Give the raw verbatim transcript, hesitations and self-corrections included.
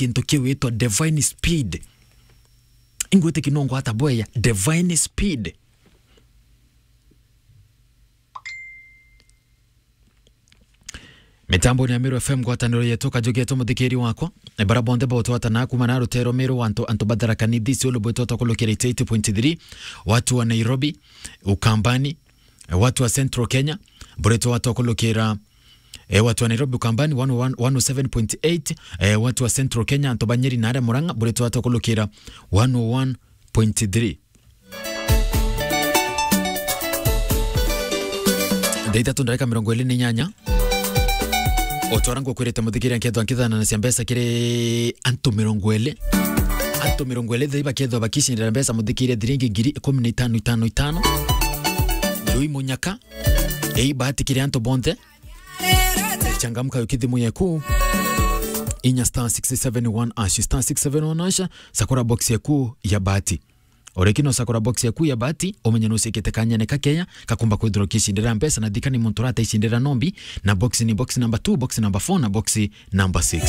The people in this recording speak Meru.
gintu kiu witwa divine speed. Ingwite kinongo ata bweya, divine speed. Mitamboni ya Meru F M, ngwataniro yetu, kajugi yetu, muthikiri wakwa. E, bara bonthe botwatana kuma na rutero Meru, antu, antu ba Tharaka Nithi, Isiolo, bwitwa twakulukira eighty-eight point three, watu wa Nairobi, Ukambani, e, watu wa Central Kenya, buritwa twakulukira, e, watu wa Nairobi, Ukambani, one oh one, one oh seven point eight, e, watu wa Central Kenya, antu ba Nyeri na aria Murang'a, buritwa twakulukira one oh one point three. Thaa ithatu ndarika mirongo iri na inyanya. O ta uria ngukwirite, muthikiri, nkethwa nkithananacia mbeca kiri antu mirongo iri. Antu mirongo iri thaa ii bakethwa bakicindira mbeca, muthikiri, thiringi ngiri ikumi na itano, itano, itano. Jui munyaka. Ii bahati kiri antu bonthe. Changamka, yuki thimu yeku. Inya star six seven one hash, star six seven one hash, sakura box yeku ya bahati. Uriki no sakura box yeku ya bahati, umenye nucikite kanyene kakeya kakumba kwithirwa ukicindira mbeca, na thikani muntu urata icindira nombi, na box ni box number two, box number four, na box number six.